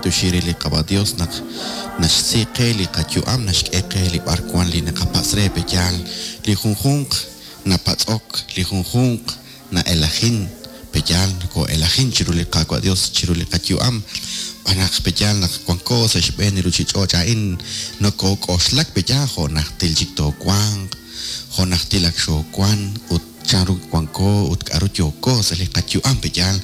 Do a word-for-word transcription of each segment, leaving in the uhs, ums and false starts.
Naqab'antioxi re li Qaawa' Dios naq naxsi qe li qayu'am, naxk'e qe li b'arwan li naqapatz' re pe'yaal. Li junjunq napatz'ok, li junjunq na'elajin pe'yaal, noko'elajin chiru li Qaawa' Dios chiru li qayu'am. B'anaq pe'yaal naq wanko sa' xb'een li ruchich'och' a'in nokok'oxlak pe'yaal jo' najtil chik toowanq, jo' najtil ak xoowan ut chanru wanko ut k'a'ru yooko sa' li qayu'am pe'yaal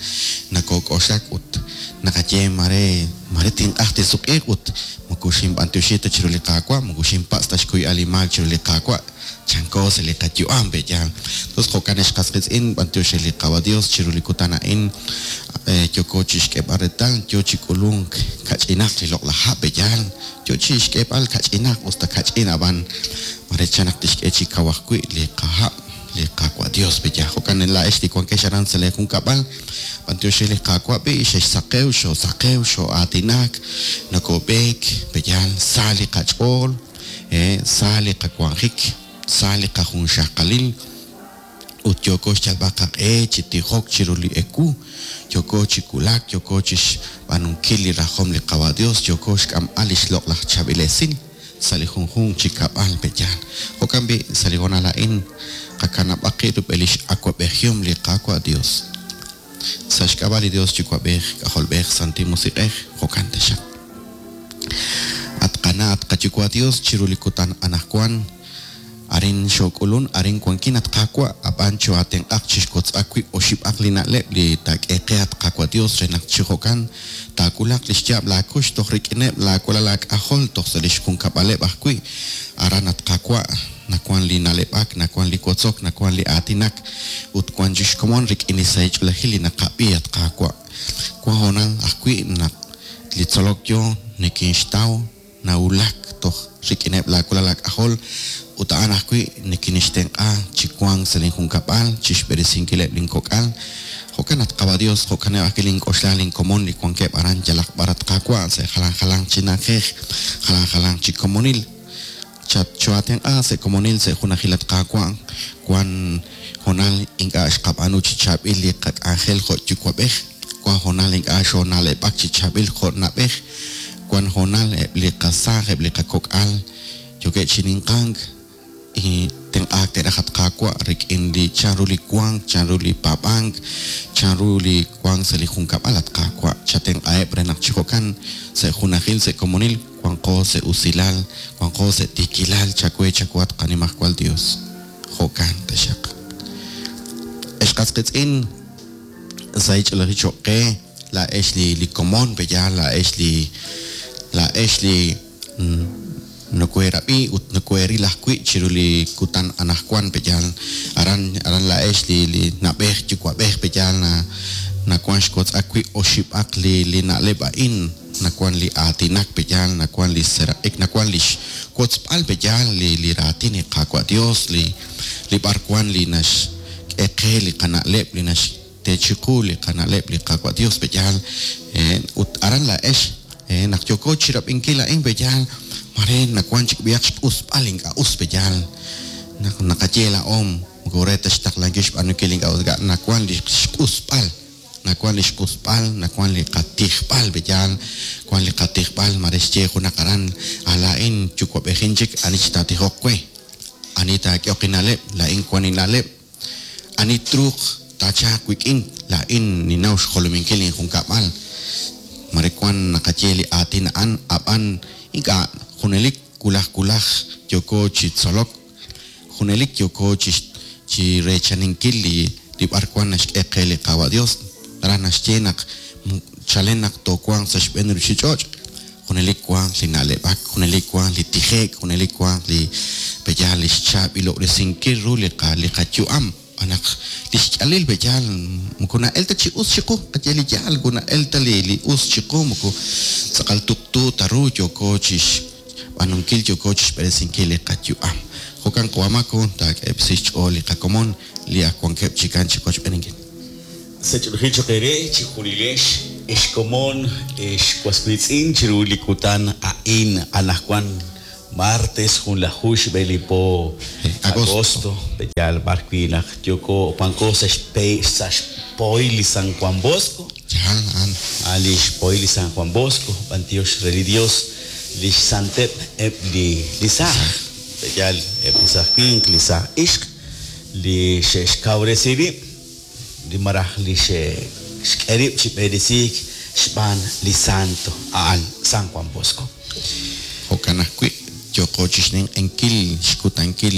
nokok'oxlak ut naqaye mare mare tinq'aj tinsuq'iiq ut moko xinb'antioxi ta chiru li Qaawa', moko xinpatz' ta xkuyb'al li maak chiru li Qaawa', chanko sa' li qayu'am pe'yaal. Entonces jo'kan ex qas qiitz'in b'antioxi li Qaawa' Dios chiru li kutan a'in yooko chixk'eeb'al reetal yo chi k'ulunk kach'inaq li loq'laj ha' pe'yaal, yo chixk'eeb'al kach'inaq usta kach'in ab'an mare chan naq tixk'e chi kaw ajwi' li qaha' li Qaawa' Dios pe'yaal. Jo'kan laa'ex li wankex aran sa' lee junkab'al b'antioxi li Qaawa' b'i xexsaqew, xoosaqew, xoo'aatinak, nokob'eek pe'yaal sa li qach'ool, sa li qawanjik, sa li qajunxaqalil ut yooko xyalb'al qaq'e chi tijok chiru li ewu, yooko chi wulak, yooko chixb'aanunkil li rajom li Qaawa' Dios, yooko xk'amb'al li xloq'laj chaab'il esil sa' li junjunq chi kab'al pe'yaal. Jo'kan b'i' sa' li honal a'in qakanab'aq qib' rub'el li x'awab'ejihom li Qaawa' Dios. Sa' xk'ab'a' li Dios Yuwa'b'ej, K'ajolb'ej, Santil Musiq'ej, jo'kan taxaq. At qana', at qayuwa' Dios chiru li kutan anaqwan, arin xook'ulun, arin wankin at Qaawa', ab'an choatenq'aq chixkotz'aq wib' oxib'aq li na'leb' li taak'e qe at Qaawa' Dios re naq chi jo'kan taawulaq li xyaab' laakux toj rik'ineb' laawalal laak'ajol toj sa' li xjunkab'aleb' ajwi'. Aran at Qaawa' nawan li na'leb'ak, nawan li wotzok, nawan li aatinak ut wan chixkomon rik'in li sahil li naqab'i at Qaawa'. Wan hoonal ajwi' naq li tzolok yo nikinxtaw nawulak toj rik'ineb' laawalal laak'ajol ut a'an ajwi' nikinixtenq'a chi wank sa' linjunkab'al, chixb'eresinkileb' linkok'al. Jo'kan at Qaawa' Dios, jo'kaneb' ajwi' link'oxla linkomon li wankeb' aran yalaq b'ar at Qaawa' sa' jalan jalanq chi na'ajej, jalan jalanq chi komonil. Choatenq'a sa' komonil sa' junajil at Qaawa', wan hoonal ink'a' xqab'aanu chi chaab'il li qak'anjel jo' yuwa'b'ej, wan hoonal ink'a' xoona'leb'ak chi chaab'il jo' na'b'ej, wan hoonal eb' li qasaaj, eb' li qakok'al yookeb' chi ninqank tenq'aak te'raj at Qaawa' rik'in li chanru li wank, chanru li paab'ank, chanru li wank sa' li junkab'al at Qaawa'. Chatenq'aheb' re naq chi jo'kan sa' junajil, sa' komonil, wanqo sa' usilal, wanqo sa' tiikilal, chawe chawe at Qanimajwal Dios. Jo'kan taxaq. Ex qas qiitz'in sa' ich'olojil choq' qe, laa'ex li li komon pe'yaal, laa'ex li laa'ex li nokoerab'i ut nokoeril ajwi' chiru li kutan anaqwan pe'yaal. Aran aran laa'ex li li na'b'ej yuwa'b'ej pe'yaal na nawan xkotz'aq wi' oxib'aq li li na'leb' a'in, nawan li aatinak pe'yaal, nawan li seraq'ik, nawan li xwotzb'al pe'yaal li li raatin li Qaawa' Dios, li li b'arwan li naxk'e qe li qana'leb', li naxtechiqu li qana'leb' li Qaawa' Dios pe'yaal. Ut aran laa'ex naq yooko chirab'inkil a'in pe'yaal, mare nawan chik b'ihaq xq'usb'al ink'a' us pe'yaal. Naq naqaye laa'om moko re ta xtaqlankil xb'aanunkil ink'a' us, nawan li xq'usb'al, nawan li xq'usb'al, nawan li qatijb'al pe'yaal, wan li qatijb'al mare xye junaq aran laa'in yuwa'b'ejin chik ani chitaatijoq we, ani taak'ehoq inna'leb', laa'in wan inna'leb', ani truuq taachaaq wik'in, laa'in ninnaw xjolominkil injunkab'al. Mare wan naqaye li aatin a'an ab'an ink'a' junelik wulaj wulaj yooko chi tzolok, junelik yooko chi chi reechaninkil li li b'arwan naxk'e qe li Qaawa' Dios. Aran naxye naq chalen naq toowanq sa' xb'een ruchich'och', junelik wanq li na'leb'ak, junelik wanq li tijeek, junelik wanq li pe'yaal li xchaab'ilob'resinkil ru li qa li qayu'am. Naq li xk'alil pe'yaal moko na'el ta chi us chiqu, qaye li yaal moko na'el ta li li us chiqu, moko tz'aqal tuqtu ta ru yooko chixb'aanunkil, yooko chixb'eresinkil li qayu'am. Jo'kan qawamako taak'eb'si xch'ool li qakomon li ak wankeb' chikan chi qochb'eninkil. Sach'olojil choq' eere chi junilex ex komon ex waswiitz'in chiru li kutan a'in anaqwan martes junlaju xb'e li po Agosto. agosto pe'yaal b'arwi' naq yooko wanko sa' xpe sa' xpoy li San Juan Bosco. Yaal a'an. A'an li xpohil li San Juan Bosco, b'antiox re li Dios, li xsanteb' eb' li li saaj. Yaal eb' li saaj winq, li saaj ixq, li xe'xkawresi rib', li maraj li xe'xk'e rib' chi b'eresiik xb'aan li santo a'an San Juan Bosco. Jo'kan ajwi' yooqo chi xninq'ehinkil xkutankil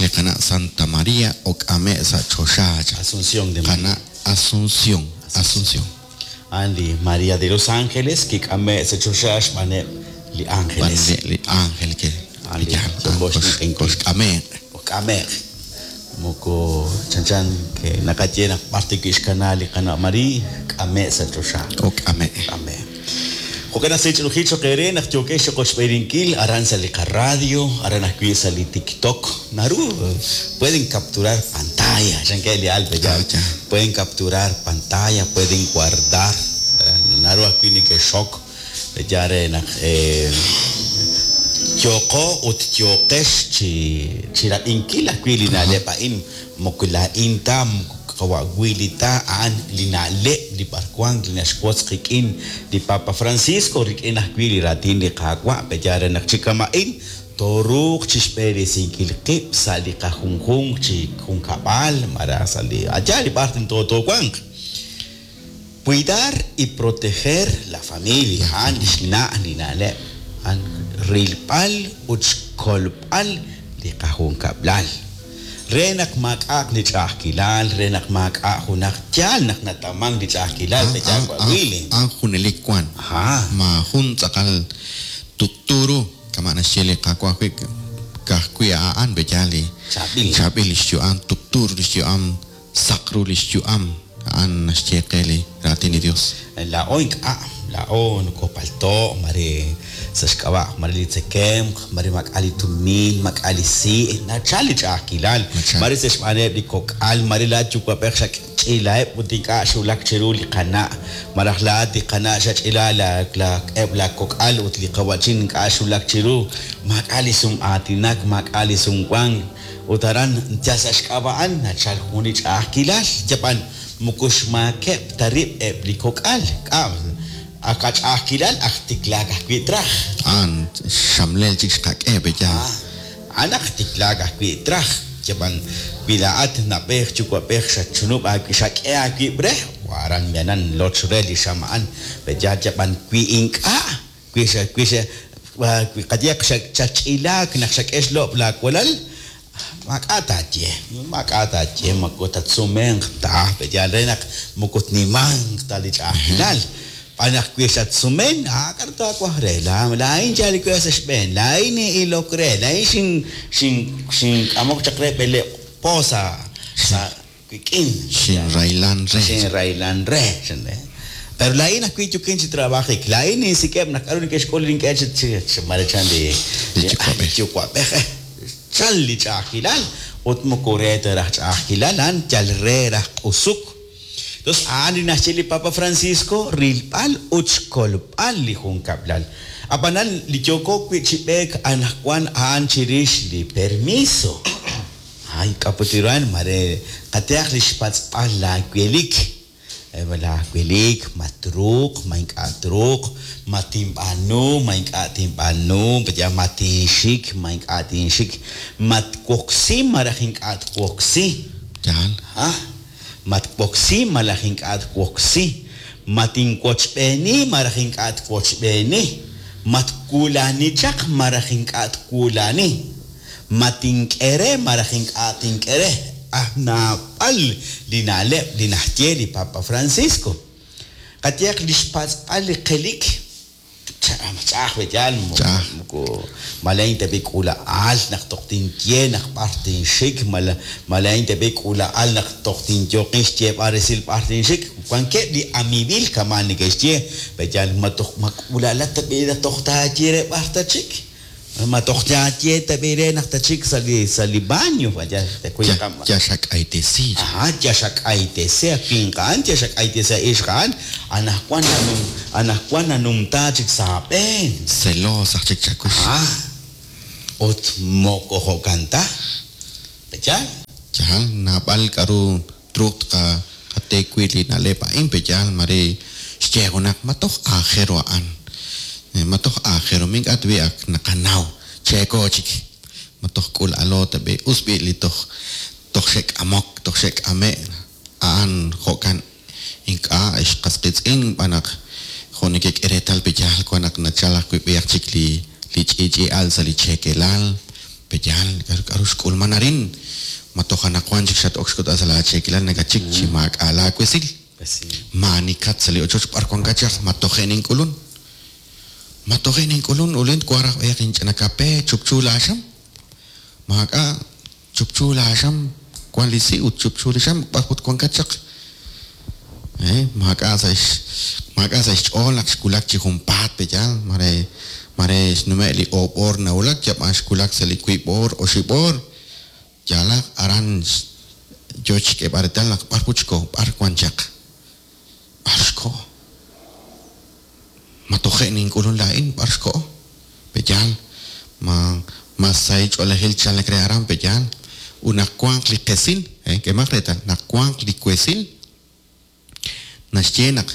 li qana' Santa María ok'ame' sa' choxa cha. Asunción de María. Qana' Asunción, Asunción. A'an li María de los Ángeles kik'ame' sa' choxa xb'aaneb' li ángeles. B'aneb' li ángel ke A'an li yaal yooqo xninq'ehinkil. koxk'ame'. Ok'ame'. Moko chanchan ke naqaye naq b'ar tikixkana li qana' María k'ame' sa' choxa. Ok'ame'. K'ame'. Jo'kan naq sech'ilujil choq eere naq yookex choqoxb'eerinkil aran sa' li qarradio, aran ajwi' sa' li TikTok. Naru pueden capturar pantalla, chanke li alpe ya. Ah, ya. Pueden capturar pantalla, pueden guardar. Naru ajwi' nekexok ya re naq eh, yooqo ut yooqex chi chi rab'inkil ajwi' li na'leb' a'in moko laa'in ta moko qawa'wili ta a'an li na'leb' li b'arwan li naxwotz qik'in li Papa Francisco rik'in ajwi' li raatin li Qaawa' pe'yaal re naq chi kama'in tooruuq chixb'eresinkil qib' sa' li qajunjunq chi junkab'al malaj sa' li allá li b'ar toowanq. Cuidar y proteger la familia a'an li xna' li na'leb' a'an rilb'al ut xkolb'al li qajunkab'lal. Re naq maak'a'aq li ch'a'ajkilal, re naq maak'a' junaq yaal naq nataman li ch'a'ajkilal pe'yaal wa'wili. A'an junelik wan. Ajá. Maajun tz'aqal tuqtu ru kama' naxye li Qaawa' ajwi' ka'ajwi' a'an pe'yaal li Chaab'il. chaab'il li xyu'am, tuqtu ru li xyu'am, saq ru li xyu'am. A'an naxye qe li raatin li Dios. Laa'o ink'a', laa'o nokopalto', mare sa' xk'ab'a', mare li tzekemq, mare maak'a' li tumin, maak'a' li si', nachal li ch'a'ajkilal, Nachal. mare sa' xb'aaneb' li kok'al, mare laa'at yuwa'b'ej xach'iilaheb' ut ink'a' xwulak chiru li qana', malaj laa'at li qana' xach'iila la- la- eb' la kok'al ut li qawa'chin ink'a' xwulak chiru, maak'a' li sum'aatinak, maak'a' li sumwank, ut aran yal sa' xk'ab'a'an nachal jun li ch'a'ajkilal, yab'an moko xmaakeb' ta rib' eb' li kok'al, k'a' ak ach'a'ajkilal aj tiklaak ajwi' traj. A'an xamlel chik xqak'e pe'yaal. Ah, a'an aj tiklaak ajwi' traj. Yab'an wi laa'at nab'ej yuwa'b'ej xachunub' aawi' xak'e aawib' re, waran mianan loch re li xam a'an. Pe'yaal yab'an wi ink'a', wi xa wi xa wi qayeq xach'ilaak naq xak'e xlob' laawalal, maak'a' taaye, maak'a' taaye, moko tatsumenq ta, pe'yaal re naq moko tnimanq ta li ch'a'ajkilal. B'an naq wi xatsumen, ah, k'aru taawaj re, la- laa'in yal we sa' xb'een, laa'in nin'ilok re, laa'in xin xin xink'amok chaq re b'eleeb' po sa' sa' wik'in. Xinraylan re. Xinraylan re, xin re. Pero laa'in ajwi' yukin chi trabajik, laa'in ninsik'eb' naq k'aru neke'xk'ul nink'e chi chi chi marechan li Li yuwa'b'ej. yuwa'b'ej, eh. Chal li ch'a'ajkilal ut moko re ta raj ch'a'ajkilal, a'an yal re raj q'usuk. Entonces, a'an li naxye li Papa Francisco, rilb'al ut xkolb'al li junkab'lal. Ab'anan li yooko wi' chi b'eek anaqwan a'an chirix li permiso. Ay, k'aputiran, mare qateaq li xpatz'b'al laawelik. Eb' laawelik, ma truuq, ma ink'a' truuq, ma tinb'aanu, ma ink'a' tinb'aanu, ya ma tinxik, ma ink'a' tinxik, ma twoksi malaj ink'a' twoksi. Yaal. Ah, ma twoksi malaj ink'a' twoksi, ma tinwochb'eeni malaj ink'a' twochb'eeni, ma twulani chaq malaj ink'a' twulani, ma tink'e re malaj ink'a' tink'e re. Ah, naab'al li na'leb' li naxye li Papa Francisco. Qayeq li xpatz'b'al li qelik, ch'a'aj pe'yaal, moko- Ch'a'aj. moko malain tab'i k'uula'al naq toj tinye naq b'ar tinxik, mala- malain tab'i k'uula'al naq toj tinyooqin xyeeb'al resil b'ar tinxik. Wankeb' li amiibil kama' neke'xye, pe'yaal ma toj ma k'uula'alat tab'i naq toj taaye re b'ar tachik. Ma toj taaye tab'i re naq tachik sa' li sa' li baño, vaya, te Ya cuida ya xak'aytesi. Ajá, ya xak'aytesi winq a'an, ya xak'aytesi ixq a'an, anaqwan nanum anaqwan nanumta chik sa' aab'een. Celos aj chik chakux. Ah, ut moko jo'kan ta. Pe'yaal? Yaal, naab'al k'aru truuq tqa Qate wi li na'leb' a'in peyaal mare xye junaq ma toj aajel ru a'an. Ma toj aajel ru mink'a' tb'i ak naqanaw cheeko chik. Ma toj k'ulalo tab'i us b'i li toj toj xe'k'amok toj xe'k'ame' a'an jo'kan ink'a' xqas qiitz'in b'an naq jo' nekek'e reetal peyaal wan naq nachal ajwi' b'ihaq chik li li ch'i'ch'i'al sa' li cheekelal peyaal k'aru xk'ulman arin ma toj anaqwan chik xat-ok xk'utb'al sa' la cheekelal nakachik chi maak'a' laawesil maanikat sa' li ochoch b'ar wankat chaq ma toje' nink'ulun ma toje' nink'ulun ulin twaj raj b'ayaq inch'ina kape chupchu laaxam maak'a' chupchu laaxam wan li si' ut chupchu li xam b'ar ut wankat chaq eh maak'a' sa' maak'a' sa' xch'ool naq xwulak chi junpaat peyaal mare mare xnume' li oob' oor nawulak yab'an xwulak sa' li wiib' oor oxib' oor yalaq aran yo xk'eeb'al reetal naq b'ar put xko b'ar wan chaq b'ar xko ma toje' nink'ulun laa'in b'ar xko peyaal ma ma sahil ch'oolejil chalek re aran peyaal ut naq wanq li qesil eh k'eemaq reetal naq wanq li wesil naxye naq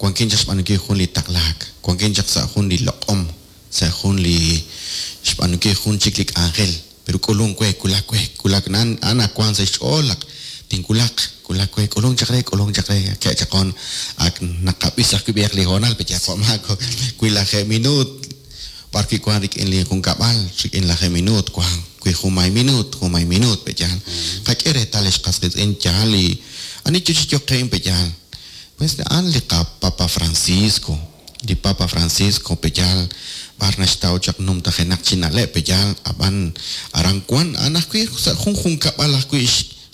wankin chaq xb'aanunkil jun li taqlaak wankin chaq sa' jun li loq'om sa' jun li xb'aanunkil jun chik li k'anjel pero k'ulun we kulak we kulak na'an a'an wank sa' xch'ool naq tinkulaq kulak we k'ulun chaq re k'ulun chaq re ke'chaqon ak naqab'is ajwi' b'ihaq li hoonal peyaal jo'maak wi lajeeb' minuut b'ar wi' wan rik'in li junkab'al rik'in lajeeb' minuut wan wi junmay minuut junmay minuut peyaal qak'e reetal xqas qiitz'in yaal li ani yo chi yoqe'in peyaal pues a'an li qapapa Francisco li Papa Francisco peyaal b'ar naxtaw chaq numtajenaq chi na'leb' peyaal ab'an aran wan a'an ajwi' sa' jun junkab'al ajwi'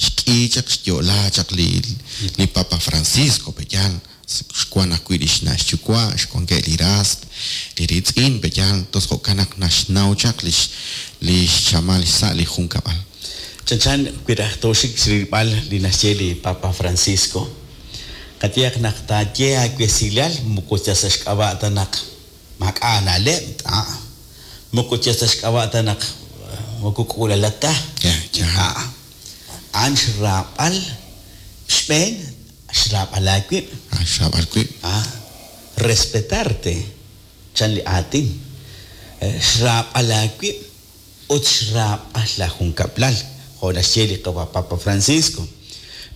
xk'i chaq xyo'la chaq li li Papa Francisco peyaal xwan ajwi' li xna' xyuwa' xwankeb' li ras li riitz'in peyaal tos jo'kan naq naxnaw chaq lix li xchamal xsa' li junkab'al. Chanchan wi raj tooxik rilb'al li naxye li Papa Francisco qayehaq naq taaye aawesilal moko yal sa' xk'ab'a' ta naq maak'a' na'leb' a moko yal sa' xk'ab'a' ta naq moko k'ulalat ta a a'an xraab'al xb'een xraab'al aawib' xraab'al wib' a respetarte chan li aatin xraab'al aawib' ut xraab'al la junkab'lal jo' naxye li Papa Francisco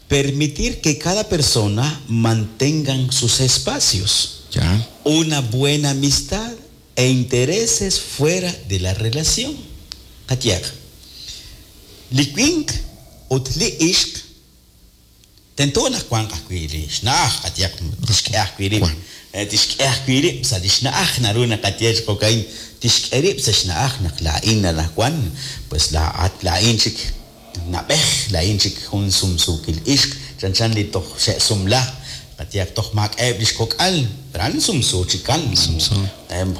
permitir que cada persona mantengan sus espacios Ya. una buena amistad e intereses fuera de la relación qayehaq li winq ut li ixq tento naq wanq ajwi' li xna'aj qayehaq tixk'e ajwi' rib' tixk'e ajwi' rib' sa' li xna'aj naru naqaye chi jo'ka'in tixk'e rib' sa' xna'aj naq laa'in anaqwan pues laa'at laa'in chik nab'ej laa'in chik jun sumsuukil ixq chanchan li toj xe'sumla qayehaq toj maak'a'eb' li xkok'al pero a'an sumsu chikan Sumsu.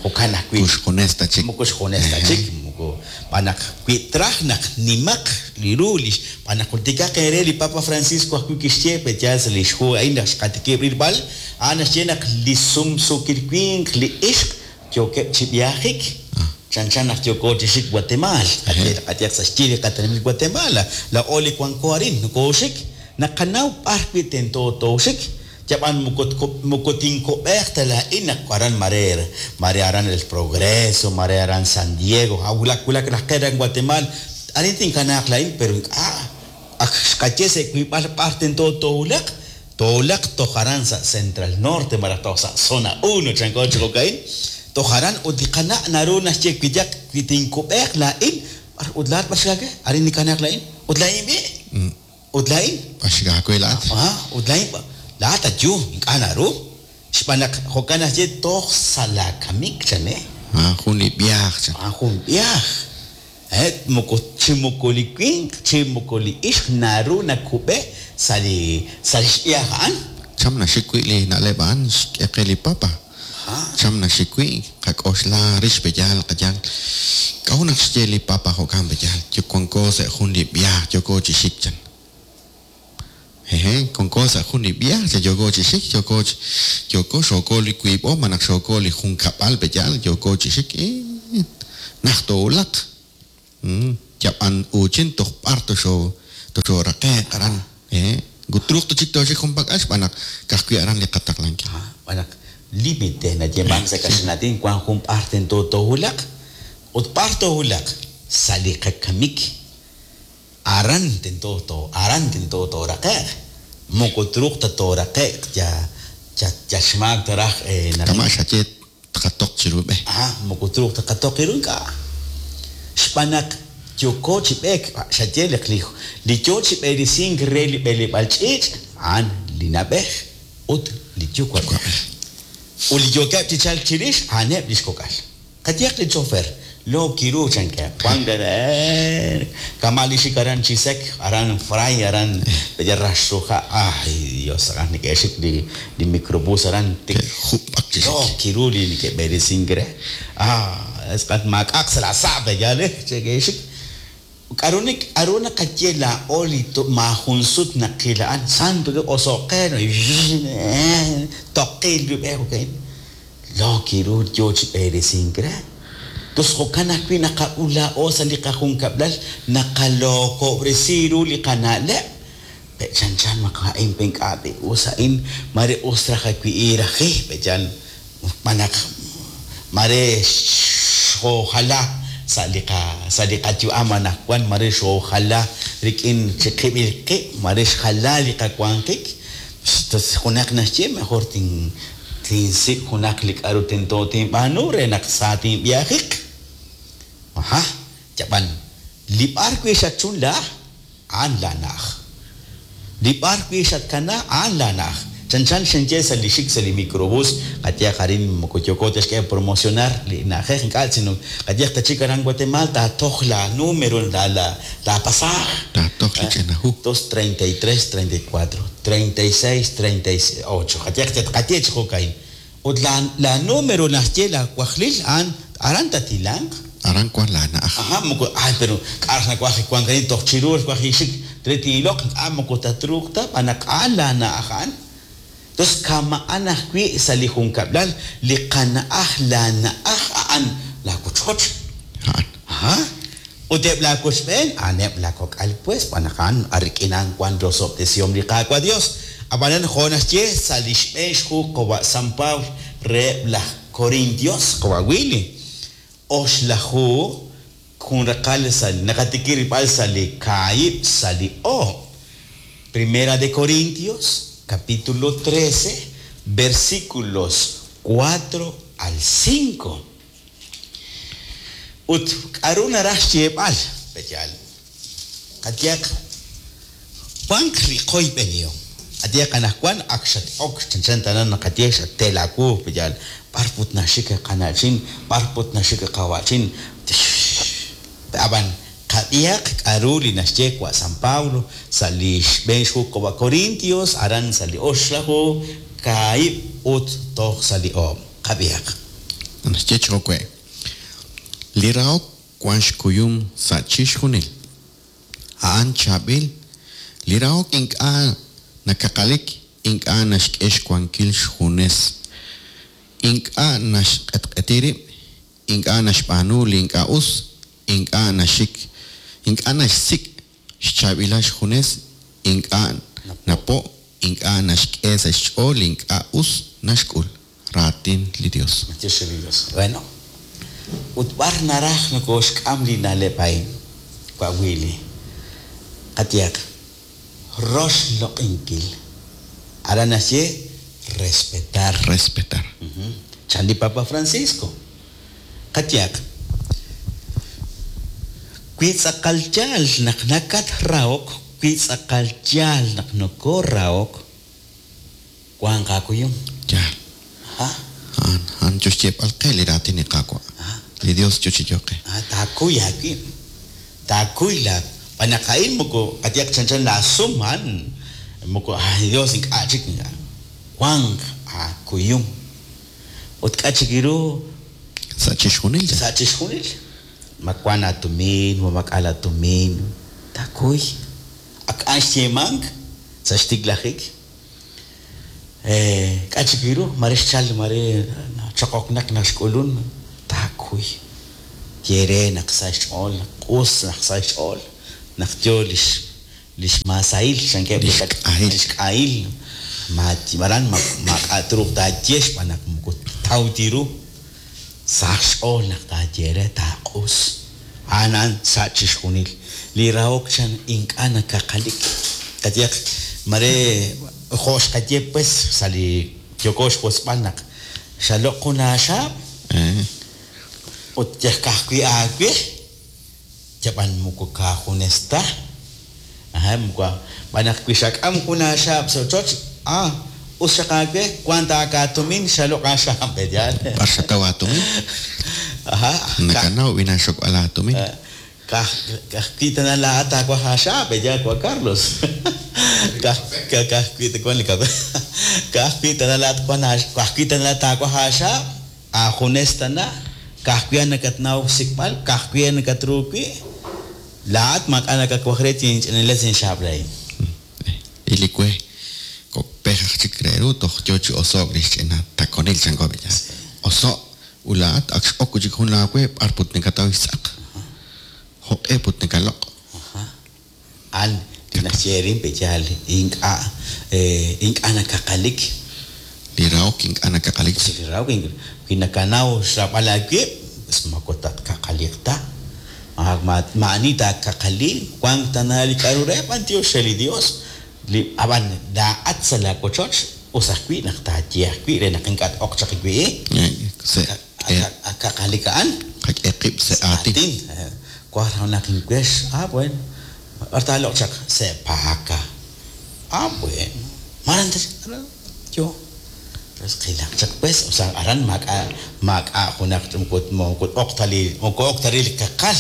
jo'kan ajwi' Moko xjunes ta chik. Moko xjunes ta chik moko b'an naq wi traj naq nimaq li ru li b'an naq jultikaq eere li Papa Francisco ajwi' kixye peyaal sa' li xhu a'in naq xqatikib' rilb'al a'an naxye naq li sumsuukil winq li ixq yookeb' chi b'iajik chanchan naq yooko chi xik Guatemala qayehaq sa' xyi li qatenamit Guatemala laa'o li wanko arin nokooxik naqanaw b'ar wi' tento tooxik yab'an moko moko tinkob'eq ta laa'in naq aran mare mare aran El Progreso mare aran San Diego a wulak wulak raj qe aran Guatemala arin tinkanaaq laa'in pero ink'a' ak xqaye sa' wiib'al b'ar tento toowulaq toowulaq toj aran sa' Central Norte malaj toj sa' Zona uno chanko chi jo'ka'in toj aran ut li qana' naru naxye wi yaq wi tinkub'eq laa'in b'ar ut laa'at b'ar xkake arin nikanaaq laa'in ut laa'in b'i ut laa'in B'ar xkaawe laa'at ah ut laa'in laa'at ayu ink'a' naru xb'aan naq jo'kan naxye toj sa' laakamik chan eh ah jun li b'iaj chan ah jun b'iaj eh moko chi moko li winq chi moko li ixq naru nakub'e sa' li sa' li xb'iaj a'an cham naxik wi' li na'leb' a'an xk'e qe li Papa cham naxik wi' qak'oxla rix peyaal qayaal k'a'ut naq xye li Papa jo'kan peyaal yo wanko sa' jun li b'iaj yooko chi xik chan jeje wanko sa' jun li b'iaj chan yooko chi xik yooko yooko xooko li wiib'o malaj xooko li junkab'al peyaal yooko chi xik naj toowulaq yab'an uuchin toj b'ar toxo toxoraqe'q aran eh Moko truuq ta chik tooxik junpak'al xb'aan naq ka'ajwi' aran li qataqlankil. Xb'aan naq límite nayeemank sa' kaxlan aatin wank jun b'ar tento toowulaq ut b'ar toowulaq sa' li qakamik aran tento to aran tento tooraqe'q moko truuq ta tooraqe'q ya ya ya xmaak ta raj kama' xaye tqatoq chiru b'e. Ajá, moko truuq ta qatoq iru ink'a' xb'aan naq yooko chi b'eek xaye li li yoo chi b'eresink re li b'eleb'aal ch'iich' a'an li na'b'ej ut li yuwa'b'ej. Ut li yookeb' chi chalk chirix a'aneb' li xkok'al. Qayehaq li chofer lo kiru chankeb' wank kama' li xik aran Chisec aran Fray aran Raxruja ay Dios aran neke'xik li li microbús aran tik Jub'ak chi lo xik. kiru li neke'b'eresink re ah es maak'aq sa' la sa' pe'yaal neke'xik k'a'ru nik k'a'ru naqaye laa'o li maajun sut naqil a'an santo Dios oso'qe toqil li b'e okay lo kiru yoo chi b'eresink re tos jo'kan ajwi' naqak'ul laa'o sa' li qajunkab'lal naqalookob'resi ru li qana'leb' pe chanchan naq a'in pe ink'a' pe us a'in mare us raj ajwi' raji pe'yaal xb'aan naq mare xoojala sa' li qa sa' li qayu'am anaqwan mare xoojala rik'in chiqib'il qib' mare xjala li qawanjik tos junaq naxye mejor tin tinsik' junaq li k'a'ru tento tinb'aanu re naq sa tinb'iajiq. Ajá, yab'an li b'ar wi' xatchunla a'an laana'aj. Li b'ar wi' xatkana a'an laana'aj. Chanchan xinye sa' li xik sa' li microbús qayehaq arin moko yooko ta xk'e promocionar li na'ajej ink'a' sino qayehaq ta chik aran Guatemala taatoj la número la la la pasaje. Taatoj li ch'ina hu. Dos treinta y tres, treinta y cuatro, treinta y seis, treinta y ocho. Qayehaq qaye chi jo'kain. Ut la la número naxye la wajlil a'an aran tatilanq. Aran wank laana'aj. Ajá, moko ay pero k'ar nawaj wank arin toj chiru waj ixik re tin'iloq ink'a' moko tatruuq ta b'an naq a'an laana'aj a'an. Entonces kama'an ajwi' sa' li junkab'lal li qana'aj laana'aj a'an la wochoch. A'an. Ajá. Ut eb' laawochb'een a'aneb' laakok'al pues b'an naq a'an rik'in a'an wank rosob'tesihom li Qaawa' Dios. Ab'anan jo' naxye sa' li xb'een xhu qawa' San Pablo reheb' laj Corintios qawa' Willy oxlaju jun raqal sa' naqatikib' rilb'al sa' li kaahib' sa' li oob'. Primera de Corintios capítulo trece versículos cuatro al cinco. Ut k'a'ru naraj xyeeb'al pe'yaal qayehaq wank li qoyb'enihom. Qayehaq anaqwan ak xat-ok chanchan tana naqaye xatel aawu pe'yaal b'ar put naxik qana'chin b'ar put naxik qawa'chin ab'an qab'ihaq k'a'ru li naxye wa' San Pablo sa' li xb'een xhu qawa' Corintios aran sa' li oxlaju kaahib' ut toj sa' li oob' qab'ihaq. Naxye chi jo'we'. Li rahok wank xkuyum sa' chixjunil. A'an chaab'il. Li rahok ink'a' nakaqalik, ink'a' naxk'e xwankil xjunes. Ink'a' naxq'etq'eti rib', ink'a' naxb'aanu li ink'a' us, ink'a' naxik, ink'a' naxsik' xchaab'ilal xjunes, ink'a' napo', ink'a' naxk'e sa' xch'ool li ink'a' us naxk'ul. Raatin li Dios. Dios li Dios. Bueno, ut b'ar naraj nokooxk'am li na'leb' a'in wa' Willy. Qayehaq roxloq'inkil. Aran naxye respetar. Respetar. Chan li Papa Francisco. Qayehaq wi tz'aqal yaal naq nakatrahok, wi tz'aqal yaal naq nokoorahok, wank aakuyum. Yaal. Ajá. A'an a'an yo xyeeb'al qe li raatin li Qaawa'. Li Dios yo chi yo'qe. Ah, taakuy aawib'. Taakuy la b'an naq a'in moko qayehaq chanchan laasum a'an moko ay Dios ink'a' chik wank aakuyum. Ut k'a' chik ru Sa' chixjunil. sa' chixjunil. Ma wank aatumin, ma maak'a' laatumin, taakuy. Ak a'an xyeemank sa' xtiklajik. Eh, k'a' chik ru mare xchal mare choqoqnaq naq xk'ulun taakuy. Ye re naq sa' xch'ool, naq q'us naq sa' xch'ool, naq yo lix Lix masail chankeb' Lix k'ahil. Lix k'ahil. Ma aran ma maak'a' truuq taaye xb'aan naq moko taw tiru. Saq xch'ool naq taaye re taaq'us. A'an a'an sa' chixjunil. Li rahok chan ink'a' nakaqalik. Qayehaq mare jo' xqaye pues sa' li yooko xwotzb'al naq xaloq jun aaxaab' Eh, ut yaj ka'ajwi' aawe yab'an moko kaajunes ta. Ajá, moko b'an naq wi xak'am jun aaxaab' sa' ochoch, ah, us xaq aawe wank taakaatumin xaloq aaxaab' yaal. B'ar xataw aatumin? Ajá. Nakanaw b'ina xokb'al aatumin. Kaj ka'ajwi' tana laa'at taawaj aaxaab' yaal Juan Carlos. Kaj ka'ajwi' ta wan li kape. Ka'ajwi' tana laa'at wan ka'ajwi' tana laa'at taawaj aaxaab' aajunes tana ka'ajwi' nakatnaw xsik'b'al ka'ajwi' nakatruuk wi' laa'at maak'a' nakawaj re tinch'inales inxaab' laa'in. Ilikwe kok pej aj chik re ru toj yo chi oso'k lix ch'ina takonil chanko be yaal. Oso' ulaat ak x'ok chik jun laawe b'ar put nakataw xtz'aq. Jo'q'e put nakaloq'. An naxye rin pe yaal ink'a' eh, ink'a' nakaqalik. Li rahok ink'a' nakaqalik. Li rahok wi nakanaw xraab'al aawib' pues moko tatkaqaliq ta. Ma maa'ani taakaqali wank tana li k'a'ru re b'antiox re li Dios. Li ab'an laa'at sa' laawochoch us ajwi' naq taaye ajwi' re naq ink'a' t-oq chaq wi'. Se Akaqalik a'an. Qak'e qib' sa' aatin. Waj raj naq inwex. Ah, bueno. B'ar taaloq chaq sa' paaka. Ah, bueno. Maran yo. Pues qilaq chaq pues, o sea, aran maak'a maak'a junaq moko moko oq ta li moko oq ta li kaqal.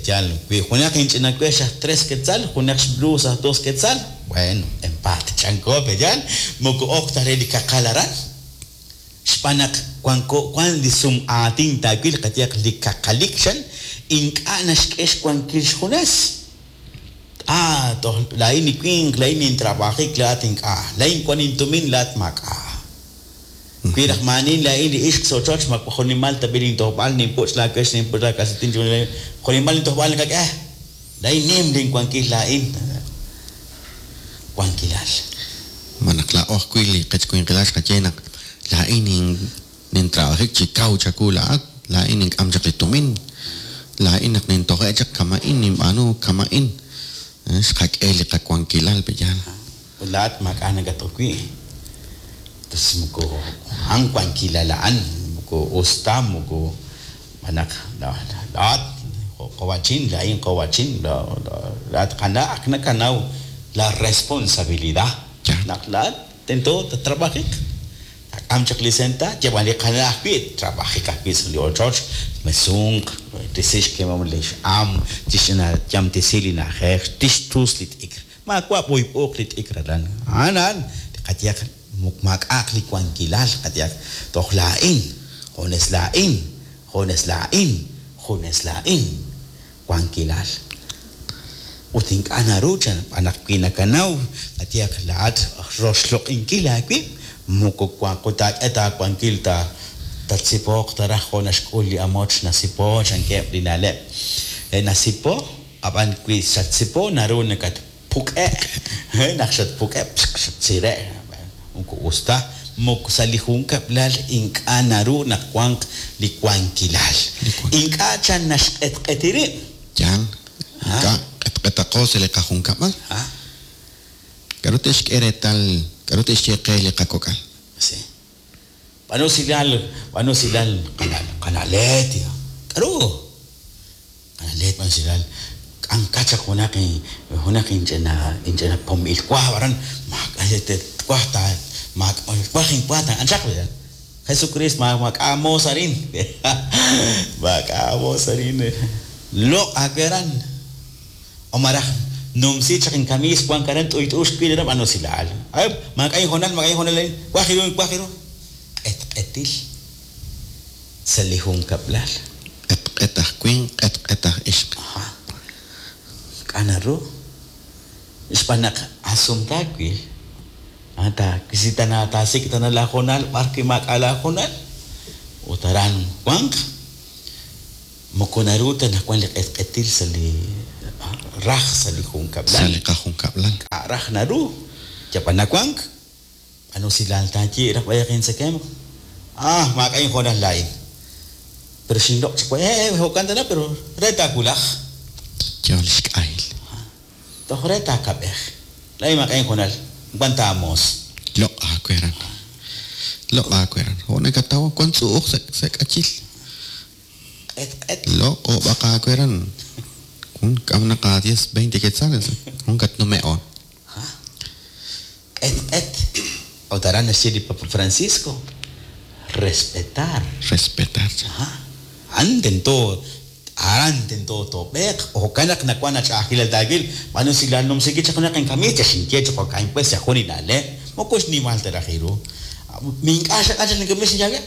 Yaal wi junaq inch'ina wex aj tres quetzal, junaq xblusa aj dos quetzal. Bueno, empate chanko pe yaal moko oq ta li kaqal aran. Xb'aan naq wanko wan li sum aatin taawil qayehaq li kaqalik xan ink'a' naxk'e xwankil xjunes. Ah, toj laa'in li winq, laa'in nintrabajik laa'at ink'a', laa'in wan intumin laa'at maak'a'. Wi raj maanin laa'in li ixq sa' ochoch ma junimal tab'i lintojb'al ninpuch' laawex ninpuch' laakalsetin junimal lintojb'al nakak'e. Laa'in nim linwankil laa'in. Wankilal. Ma naq laa'o ajwi' li qechwinqilal xqaye naq laa'in nin nintrabajik chi kaw chaku laa'at, laa'in nink'am chaq li tumin, laa'in naq nintoje' chaq kama'in ninb'aanu kama'in. Xqak'e li qawankilal pe yaal. Ut laa'at maak'a' nakatoq wi'. Entonces moko an wankilal a'an moko us ta moko b'anaq laa'at qowachin laa'in qowachin laa'at qana' ak nakanaw la responsabilidad. Naq laa'at tento tatrabajik. Tak'am chaq li senta yab'an li qana' ajwi' trabajik ajwi' sa' li ochoch mesunq tisix kemom li x'am tixna yamtisi li na'ajej tixtus li t'ikr maawa' b'uyb'uuq li t'ikr aran a'an a'an qayehaq maak'a'aq li wankilal qayehaq toj laa'in junes laa'in junes laa'in junes laa'in wankilal. Ut ink'a' naru chan b'an naq wi nakanaw qayehaq laa'at roxloq'inkil aawib' moko wanko taak'e taawankil ta tatsipoq taraj jo' naxk'ul li amoch nasipo chankeb' li na'leb'. Nasipo ab'an wi xatsipo naru nakatpuk'e' naq xatpuk'e' xatsire' moko us ta moko sa' li junkab'lal ink'a' naru naq wanq li wankilal. Ink'a' chan naxq'etq'eti rib'. Yaal, ink'a' q'etq'etaqo sa' li qajunkab'al. K'a'ru te'xk'e reetal, k'a'ru te'xye qe li qakok'al. Sí. B'an usilal, b'an usilal qana'let. K'a'ru? Qana'let b'an usilal. K'anka chaq junaq junaq inch'ina inch'ina pomil waj aran maak'a' waj ta waj inwa ta anchaq Jesucristo ma maak'a' arin. Maak'a' arin. Loq' aweran. O maraj numsi chaq inkamis wan karan t'uyt'ux wi' b'an usilal. Ay maak'a' injonal maak'a' injonal waj iru waj iru. Q'etq'etil sa' li junkab'lal. Q'etq'et aj winq, q'etq'et aj ixq. K'a' naru? Xb'aan naq asumtaawil ata si tana tasik tana laajonal b'ar wi maak'a' laajonal ut aran wanq moko naru ta naq wan li q'etq'etil sa' li raj sa' li junkab'lal. Sa' li qajunkab'lal. K'a' raj naru. Yab'an nawank. B'an usilal taaye raj b'ayaq intzekemq. Ah, maak'a' inhoonal laa'in. Pero xinloq' chaq wa- eh, eh, jo'kan tana, pero re taawulaj. Yo li xk'ahil. Toj re taakab'ej. Laa'in maak'a' inhoonal. Wan taamoos. Loq' aaweran. Loq' aaweran. Jo' nakataw wan tz'u'uj sa' sa' k'achil. Q'et q'et. Loq' ob'aq aaweran. Jun k'am naqa diez, veinte quetzales. Jun katnume'on. Q'et q'et. Ut aran naxye li Papa Francisco. Respetar. Respetar. Ajá. Aran tento, aran tento toob'eeq. Jo'kan naq nawan ach'a'ajkilal taawil. B'an usilal numsiki chaq junaq inkamiis, ya xinye chaq jo'kan pues ya jun li na'leb'. Moko xnimal ta raj iru. Mi ink'a' xaq'an chaq linkamiis xinyawe.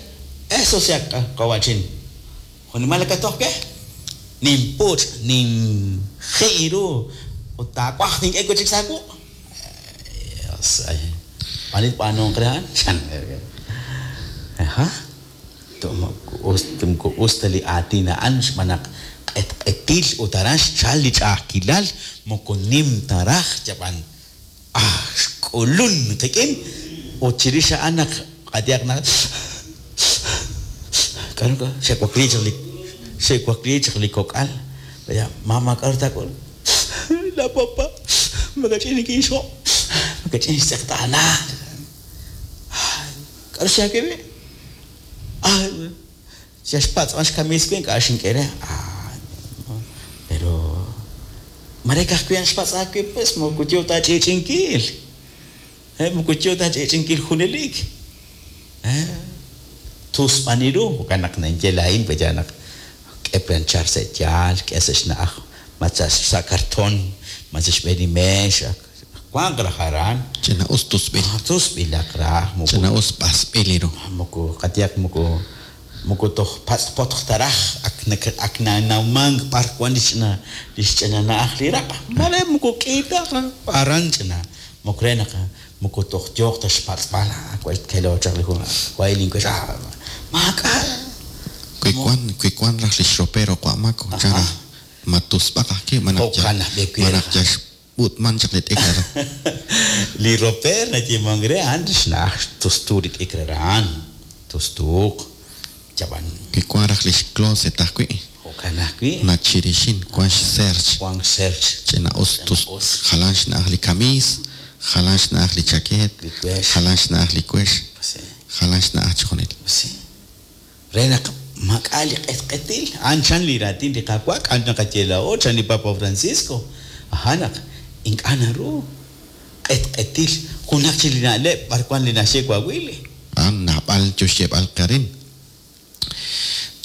Eso sea qawachin. Junimal nakatoj ke? Ninpuch', ninji' iru. Ut taawaj tink'e wi' chik sa' wuq'. Dios, ay. B'an b'aanuuq re a'an? Chan. Ajá. Us moko us ta li aatin a'an xb'aan naq q'etq'etil ut aran xchal li ch'a'ajkilal moko nim ta raj yab'an ah xk'ulun qik'in ut chirix a'an naq q'atihaq naq k'aru k'a xe'wakliik chaq li xe'wakliik chaq li kok'al ya mama k'aru taak'ul la papa makach'in nikinxjo' makach'in xtz'eqtaana k'aru xyawe wi' ah ya xpatz'man xkamiis wi' ink'a' xink'e re ah pero mare ka'ajwi' a'an xpatz' aawe pues moko yoo ta ach'i'ch'inkil eh moko yoo ta ach'i'ch'inkil junelik eh tusb'an iru jo'kan naq ninye laa'in pues ya naq k'e planchar sa' yaal k'e sa' xna'aj ma sa' sa' cartón ma sa' xb'een li meex wanq raj aran Ch'ina'us tusb'il. tusb'ilaq raj moko Ch'ina'us b'asb'il iru. moko qatihaq moko moko toj patz'potq ta raj ak nak- ak nanawmank b'ar wan li xch'ina li xch'ina na'aj li raq' mare moko k'i ta aran ch'ina moko re naq moko toj yooq ta xpatz'b'al ah wa kelo chaq li jun wa ilinwex ah maak'a' Wi wan wi wan raj li xropero q'amako chan raj ma tusb'aq ajwi' ma naq ya Jo'kan ajwi' ma naq ya xb'ut'man chaq li t'ikr aran. Li roper nayeemank re a'an xna'aj tustu li t'ikr aran tustuuq yab'an Wi wan raj li xcloset ajwi' jo'kan ajwi' nachirixin wan xserch wank serch ch'ina'us tus Ch'ina'us. jalan xna'aj li kamiis jalan xna'aj li chakeet Li wex. jalan xna'aj li wex Pues sí. jalan xna'aj chijunil. Pues sí. Re naq maak'a' li q'etq'etil a'an chan li raatin li Qaawa' k'an naqaye laa'o chan li Papa Francisco aja naq ink'a' naru q'etq'etil junaq chik li na'leb' b'ar wan li naxye wawili A'an naab'al yo xyeeb'al qarin.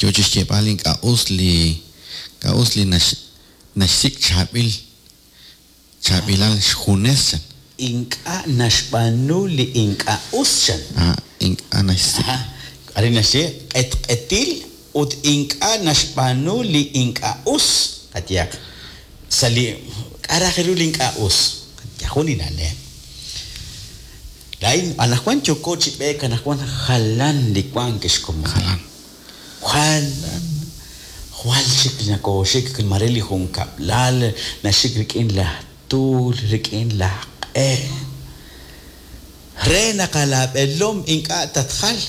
Yo chi xyeeb'al ink'a' us li ink'a' us li nax naxsik' chaab'il chaab'ilal xjunes chan. Ink'a' naxb'aanu li ink'a' us chan. Ah, ink'a' naxsik' Ajá. Arin naxye q'etq'etil ut ink'a' naxb'aanu li ink'a' us qatihaq sa' li k'a' raj ru li ink'a' us jun li na'leb' laa'in anaqwan yooko chi b'eek anaqwan jalan li wank xkomon jalan. jalan jwal chik nakooxik mare li junkab'lal naxik rik'in laj tuul rik'in laj q'e re naq alaab'elom ink'a' tatjal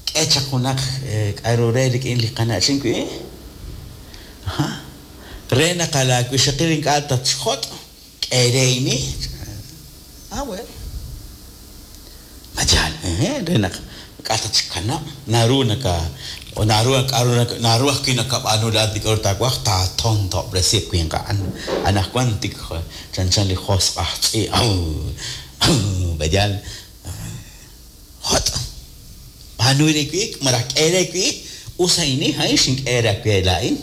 k'e chaq junaq eh, k'aru re rik'in li qana'chin wi' Ajá. Re naq alaawixaqil ink'a' tatxjot' k'e re ini ah bueno Machal, eh, re naq ink'a' tatxkanab' naru naka o naru k'aru naka- naru ajwi' nakab'aanu laa'at li k'aru taawaj taatontob'resi winq a'an anaqwan tik chanchan li josq' aj tz'i' aw aw b'eyal jot' b'aanu re wi' malaj k'e re wi' us a'ini a'in xink'e re aawe laa'in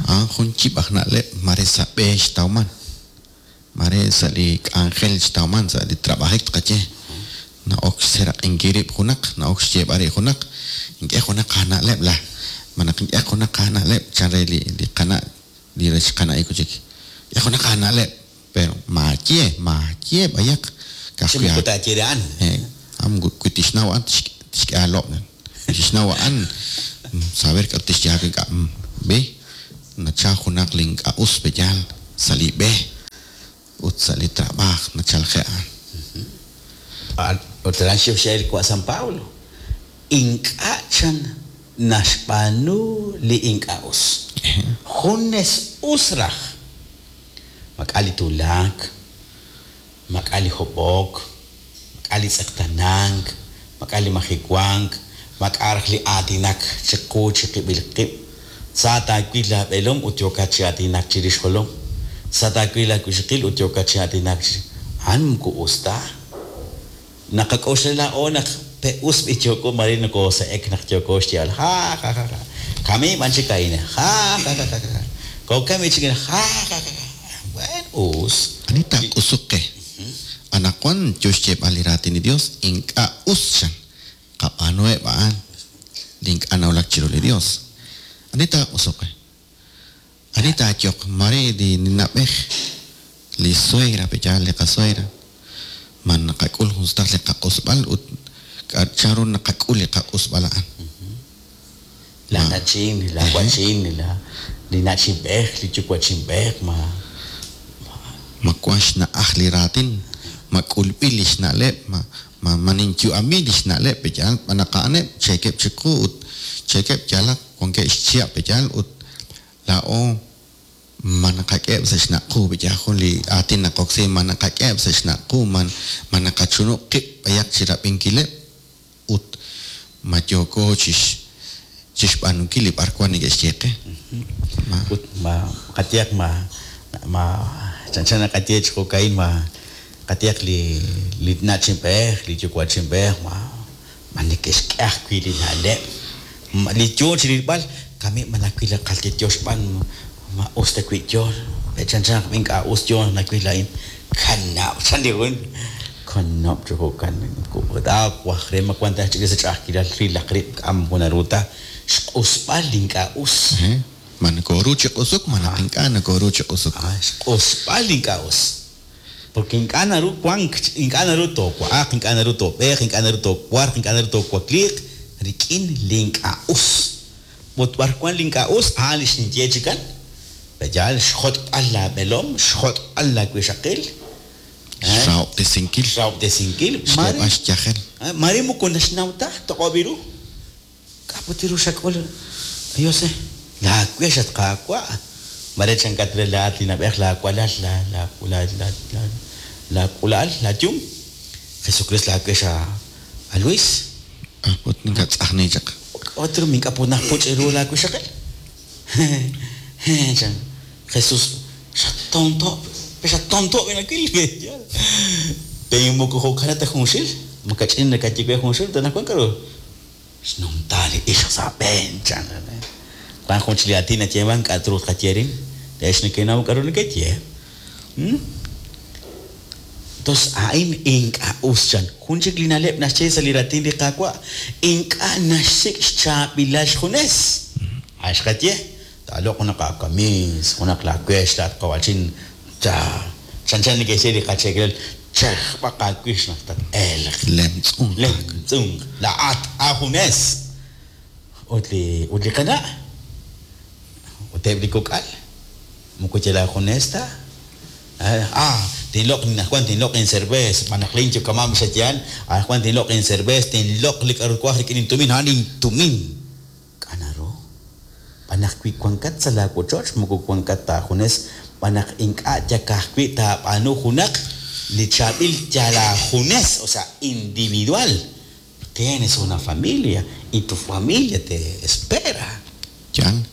A'an jun yib' aj na'leb' mare sa' b'e xtawman. Mare sa' li k'anjel xtawman sa' li trabajik tqaye. Na'ok xseraq'inkil rib' junaq, na'ok xyeeb'al rib' junaq, ink'e junaq aana'leb' la ma naq ink'e junaq aana'leb' chan re li li qana' li rech qana'ik chik. Ink'e junaq aana'leb', pero maaye, maaye b'ayaq chi ka'ajwi' moko taaye re a'an Eh, am wi tixnaw a'an tixk- tixk'e aalob'. Tixnaw a'an saber k'aru tixye aawe ink'a' mm, ve Nachal junaq li ink'a' us peyaal sa' li b'e ut sa' li trabaaj nachalje' a'an. Ut aran xyoxel wa' San Pablo ink'a' chan naxb'aanu li ink'a' us. Junes us raj. Mak'a li tuulak, mak'a li hob'ok, mak'a li tz'eqtanank, mak'a li majiwank, mak'a raj li aatinak chiqu chiqib'il qib'. Sa taawil laab'eelom ut yookat chi aatinak chirix jolom. Sa taawil laawixaqil ut yookat chi aatinak chi a'an moko us ta. Naqak'oxla laa'o naq pe us b'i yooko mare nokoose'ek naq yooko xyeeb'al ja ja ja ja. Kami b'an chik a'in ja ja ja ja ja. Kokami chik ja ja ja ja. Bueno, us. Ani taaq'usuq qe. Anaqwan yo xyeeb'al li raatin li Dios ink'a' us chan. Qab'aanuheb' a'an li ink'a' nawulak chiru li Dios. Ani taaq'usuq qe. Ani taayoq mare li na'b'ej li suegra peyaal li qasuegra. Man naqak'ul jun sutaq li qaq'usb'al ut chanru naqak'ul li qaq'usb'al a'an. La nachin, la wachin, la li nachinb'ej, li yuwa'chinb'ej, ma ma wan xna'aj li raatin, ma k'ulb'il li xna'leb', ma ma ma ninyu'ami li xna'leb' peyaal b'anaq a'aneb' cheekeb' chiqu ut cheekeb' yalaq wankeb' xchihab' peyaal ut laa'o ma naqak'eheb' sa' xna'qu peyaal jun li aatin naqoksi ma naqak'eheb' sa' xna'qu man ma naqachunub' qib' b'ayaq chirab'inkileb' ut ma yooko chix chixb'aanunkil li b'arwan neke'xye qe. Ma ut ma qatiyaq ma ma chanchan naqaye chi jo'ka'in ma qatiyaq li li nachinb'ej, li yuwa'chinb'ej, ma ma neke'xk'e ajwi' li na'leb'. Ma li yo chi rilb'al kami ma nawil li qaltitiox b'an ma us ta wi' yo pe chanchan naq ink'a' us yo nawil a'in kanab' chan li jun kanab' chi jo'kan waj re ma wan ta chik sa' ch'a'ajkilal rilaq rib' k'am naru ta xq'usb'al li ink'a' us. Ma nokoru chi q'usuk, ma naq ink'a' nokoru chi q'usuk. Ah, xq'usb'al li ink'a' us. Porque ink'a' naru wank, ink'a' naru toowa'aq, ink'a' naru toob'eeq, ink'a' naru toowarq, ink'a' naru toowakliiq rik'in li ink'a' us. Ut b'ar wan li ink'a' us, a'an li xninye chikan. Peyaal xjot'b'al laab'eelom, xjot'b'al laawixaqil. Xrahob'tesinkil. Xrahob'tesinkil. Xk'eeb'al xyajel. Mare moko naxnaw ta, toq'ob' ru. K'a'ut ru xak'ul? Dios, laawex at qaawa'. Mare chankat re laat li nab'ej laawalal, la la la la la laak'ula'al, laayum. Jesucristo laawex a a Luis. Ah, ut ninkatz'ajni chaq. K'a'ut ru mink'a punaj puch' ru laawixaqil. Chan Jesús, xatonto, xatonto binakil. Pe moko jo'kanata junxil, makach'in nakayiwe junxil, tanajwan k'aru xnumta li ixq sa' b'een chan. Wan jun chi li aatin nayeeman k'a' truuq qayerin, leex nekenaw k'aru nekeye. Entonces, a'in ink'a' us chan. Jun chik li na'leb' naxye sa' li raatin li Qaawa', ink'a' naxsik' xchaab'ilal xjunes. A' xqaye, taaloq junaq aakamis, junaq laawex, laat qawachin, cha chanchan neke'xye li qacheekelal, chajb'aq aawix naq tat-elq. Lemtz'unk. Lemtz'unk. Laat ajunes. Ut li ut li qana', ut eb' li kok'al, moko yal ajunes ta. Ah, tinloq anajwan tinloq incerveza, b'anaq lin yukamam xatyal, anajwan tinloq incerveza, tinloq li k'aru twaj rik'in intumin, a'an intumin. K'a naru? B'anaq wi wankat sa' laawochoch, moko wankat ta ajunes, b'anaq ink'a' yakajwi' taab'aanu junaq li chaab'il yal ajunes, o sea, individual. Tienes una familia y tu familia te espera. Yal,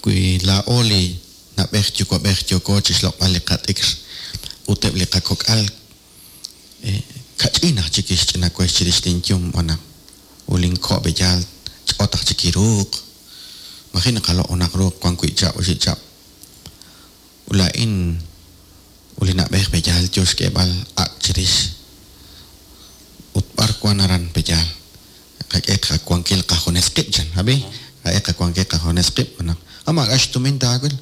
wi laa'o li nab'ej yuwa'b'ej yooko chixloq'b'al li qat'ikr ut eb' li qakok'al kach'in aj chik ixch'inawex chirix linyum b'anaq ut linko' b'eyaal ch'ot aj chik iruuq. Maji naqaloq' junaq ruuq wan wi' chab' oxib' chab'. Ut laa'in ut li nab'ej b'eyaal yo xk'eeb'al ak' chirix. Ut b'ar wan aran b'eyaal. Qak'e qawankil qajunes qib' chan, abi? Qak'e qawankil qajunes qib' b'anaq. Ah, maak'a' xtumin taawil.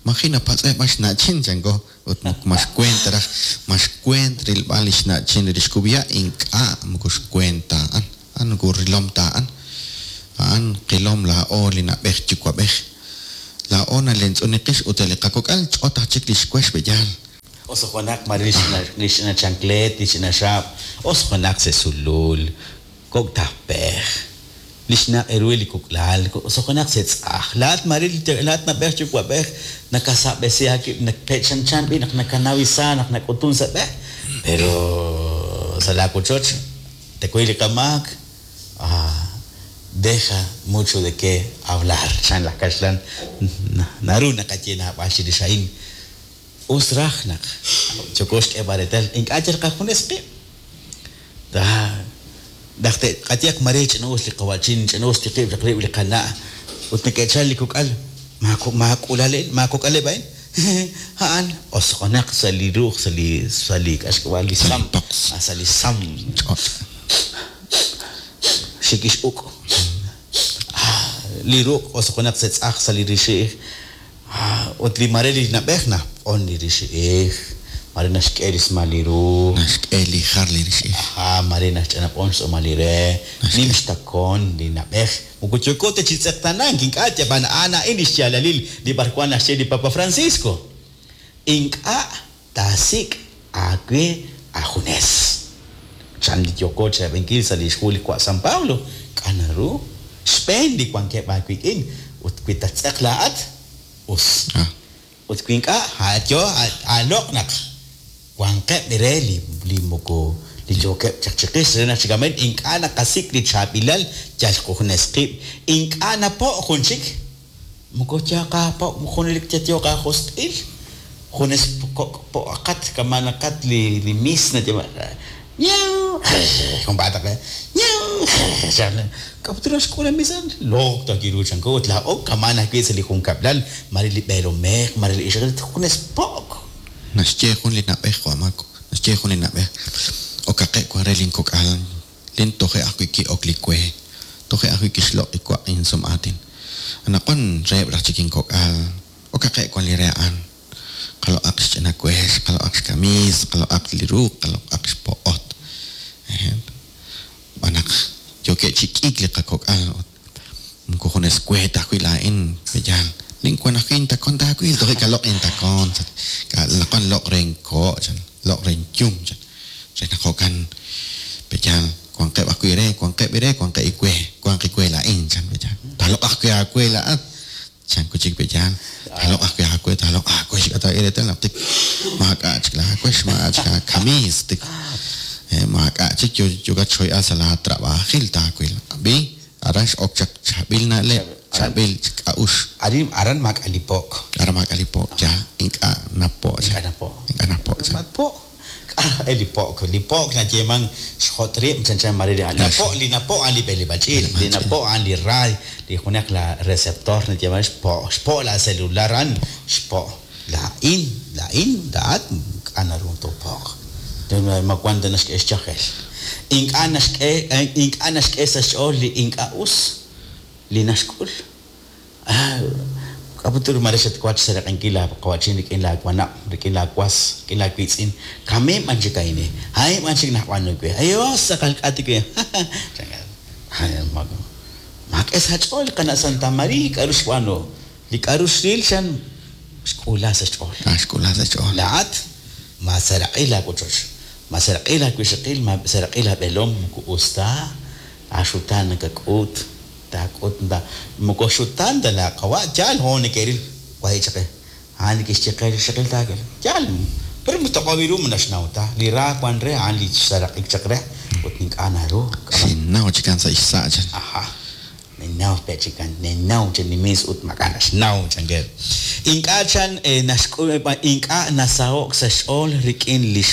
Maji napatz'eb' b'an xna'chin chanko. Ut ma xkuent raj, ma xkuent rilb'al li xna'chin li xkub'ya' ink'a' moko xkuent ta a'an. A'an moko rilom ta a'an. A'an qilom laa'o li nab'ej yuwa'b'ej. Laa'o nalentz'un li qix ut li qakok'al ch'ot aj chik li xwex peyaal. Osoqonaq mare li xch'ina li xch'ina chanclet, li xch'ina xaab', osoqonaq sa' sulul, kok' tajpej, li xnaq' ru li kuk'lal, osoqonaq sa' tz'aj. Laa'at mare laa'at nab'ej yuwa'b'ej nakasab'esi aawib' nakpechanchan b'i naq nakanawisa naq nak'utun sa' b'e, pero sa' laa wochoch tekuy li qamaak, ah, deja mucho de qué hablar, chan laj kaxlan naru naqaye naab'al chirix a'in. Us raj naq yooko xk'eeb'al reetal ink'a' yal qajunes qib'. Ta naq te'qayeq mare ch'ina'us li qawa'chin, ch'ina'us tiqib' chaq rib' li qana' ut neke'chal li kok'al maak'ulaleb' maakok'aleb' a'in a'an osoqonaq sa' li ruuj sa' li sa' li k'axk'ab'al li sam sa' li sam Ch'och'. xikix'uk' li ruq' osoqonaq sa' tz'aj sa' li rixi'ij ut li mare li nab'ej naq'on li rixi'ij mare naxk'e rismal li ru Naxk'e li jar li rixi'ij. Ajá, mare naxch'anab'on xtz'uumal li re nim xtakon li nab'ej moko yooko ta chi tz'eqtanank ink'a' yab'an a'an a'in li xyaalalil li b'arwan naxye li Papa Francisco ink'a' taasik' aawe ajunes chan li yooko chirab'inkil sa' li xhu li wa' San Pablo k'a naru xb'een li wankeb' aawik'in ut wi tattz'eq laa'at us Ah. ut wi ink'a' a'yo aloq' naq wanqeb' re li li moko li yookeb' chaq chiqix re naq chikamen ink'a' naqasik' li chaab'ilal yal junes qib' ink'a' napo' jun chik moko yaqaapo' junelik yatyoq aajosq'il junes kok' po'aqat kamanaqat li li mis nayeeman ñaw junpaataq ñaw k'a'ut xk'ul mis a'an loq takiru chanko ut laa'o kaman ajwi' sa' li junkab'lal mare li b'eelomej mare li ixaqil junes po'k. Naxye jun li nab'ej Juan Marco, naxye jun li nab'ej okaqe' wan re linkok'al lin toje' ajwi' ki'ok li we toje' ajwi' kixloq' li waq' insum aatin anaqwan reheb' raj chik inkok'al okaqe' wan li re a'an qaloq'aq xch'ina wex qaloq'aq xkamiis qaloq'aq li ruuq qaloq'aq xpo'ot b'an naq yookeb' chi k'iik li qakok'al moko junes we ta ajwi' laa'in peyaal linwan ajwi' intakon taawil toje' kaloq' intakon naqwan loq' re inko' chan loq' re inyum chan re naq jo'kan peyaal wanqeb' ajwi' re wanqeb' re wanqeb' iwe wanq iwe laa'in chan peyaal taaloq' ajwi' aawe laa'at chan kuchik peyaal taaloq' ajwi' aawe taaloq' aawe xk'ata reetal naq tik maak'a' chik laawex maak'a' chik aakamiis tik maak'a' chik yokat xhoy'al sa' laa trabajil taawil b'i aran x'ok chaq chaab'il na'leb' chaab'il k'a'ux arin aran maak'a' li po'k aran maak'a' li po'k yaal ink'a' napo' ink'a' napo' ink'a' napo' ma po' k'a' li po'k li po'k nayeeman xjot' rib' chanchan mare li napo' li napo' a'an li b'eleb'aal ch'iich' li napo' a'an li raay li junaq la receptor nayeeman xpo' xpo' la celular a'an xpo' laa'in laa'in laa'at k'a' naru toopo'q ma wan ta naxk'e xchajel ink'a' naxk'e ink'a' naxk'e sa' xch'ool li ink'a' us li naxk'ul k'a'ut mare xatwach xseraq'inkil laa qawa'chin rik'in laawanab' rik'in laawas rik'in laawiitz'in kameen b'an chik a'in a'in b'an chik nab'aanu we ayos tz'aqal k'ati we maak'e sa' xch'ool qana' Santa María k'a'ru xb'aanu li k'a'ru xril xan xk'uula sa' xch'ool ah xk'uula sa' xch'ool laa'at maaseraq'i laawochoch maaseraq'i laawixaqil maaseraq'i laab'eelom moko us ta aaxutaan nakak'ut taak'ut moko xutaan ta laaqawa' yaal hoon neke'ril wahi' chaq a'an neke'xye qe li xaqil taawil yaal pero toq'ob' ru ma naxnaw ta li ra wan re a'an li xseraq'ik chaq re ut ink'a' naru xinnaw chikan sa' xsa' chan ajá ninnaw pe chikan ninnaw chan nimis ut maak'a' naxnaw chankeb' ink'a' chan naxk'ul ink'a' nasaho'k sa' xch'ool rik'in lix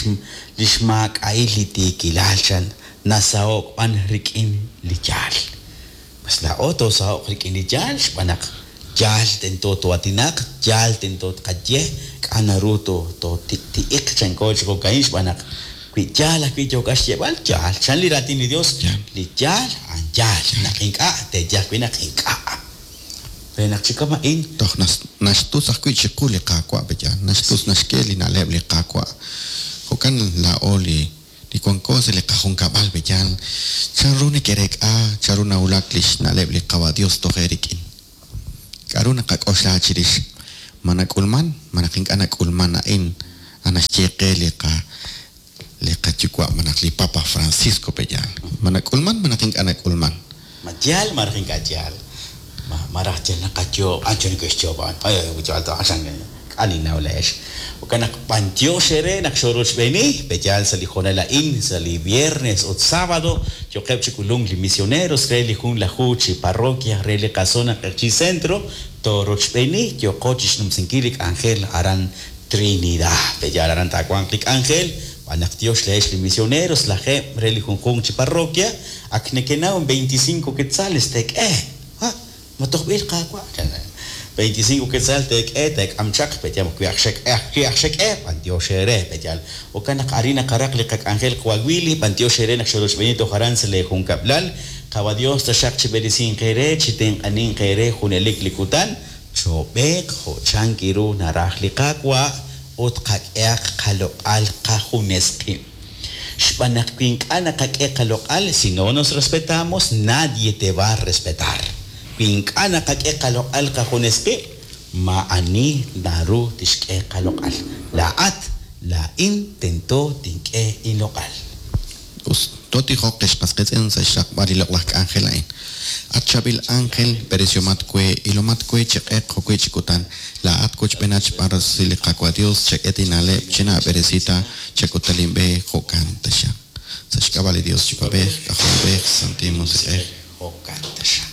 lix maak'a'il li tiikilal chan nasaho'k b'an rik'in li yaal pues laa'o toosaho'q rik'in li yaal xb'aan naq yaal tento too'aatinaq yaal tento tqaye k'a' naru to tooti'iq chanko chi jo'ka'in xb'aan naq wi yaal ajwi' yookat xyeeb'al yaal chan li raatin li Dios li yaal a'an yaal naq ink'a' teeye ajwi' naq ink'a' re naq chi kama'in toj naxtus ajwi' chiqu li Qaawa' peyaal naxtus naxk'e li na'leb' li Qaawa' jo'kan laa'o li li wanko sa' li qajunkab'al peyaal chanru neke'reek'a chanru nawulak li xna'leb' li Qawa' Dios toje' rik'in K'a'ru naqak'oxla chirix ma nak'ulman, ma naq ink'a' nak'ulman a'in, a naxye qe li qa li qayuwa' malaj li Papa Francisco pe'yaal. Ma nak'ulman, ma naq ink'a' nak'ulman. Ma yaal malaj ink'a' yaal. Ma malaj yal naqayoob' ancho neke'xyoob' a'an. Ay, yaal ta k'a ninnaw laa'ex. Jo'kan naq b'antiox eere naq xorochb'eeni, pe'yaal sa' li hoonal a'in, sa' li viernes ut sábado, yo'qeb' chi k'ulunk li misioneros re li junlaju chi parroquia re li qazona Q'eqchi' Centro, toorochb'eeni, yo'qo chixnumsinkil li k'anjel aran Trinidad. Pe'yaal aran taawanq li k'anjel, b'an naq tiox laa'ex li misioneros lajeeb' re li junjunq chi parroquia, ak nekenaw veinticinco quetzales teek'e. Ha, ma tojb'il qaawa'. veinticinco quetzal teek'e, teek'am chaq, pe'yaal wi aj xek'e, wi aj xek'e, b'antiox eere, pe'yaal. Jo'kan naq arin naqaraq li qak'anjel Coahuili, b'antiox eere naq xorochb'eeni toj aran sa' lee junkab'lal. Qawa Dios taxaq chi b'eresinq eere, chi tenq'aninq eere junelik li kutan, choob'eeq jo' chank iru naraj li Qaawa' ut qak'ehaq qaloq'al qajunes qib'. Xb'aan naq wi ink'a' naqak'e qaloq'al, si no nos respetamos, nadie te va a respetar. Wi ink'a' naqak'e qaloq'al qajunes qib', maa'ani naru tixk'e qaloq'al. Laa'at, laa'in tento tink'e inloq'al. Us, totijoq ex qas qiitz'in sa' xraqb'al li loq'laj k'anjel a'in. At chaab'il ángel, b'eresiomat we, ilomat we chi q'eq jo'wi' chi kutan. Laa'at wochb'eenat xb'aan rosil li Qaawa' Dios, chak'e tina'leb', chinaab'eresi ta, chak'uta linb'e, jo'kan taxaq. Sa' xk'ab'a' li Dios Yuwa'b'ej, K'ajolb'ej, Santil Musiq'ej. Jo'kan taxaq.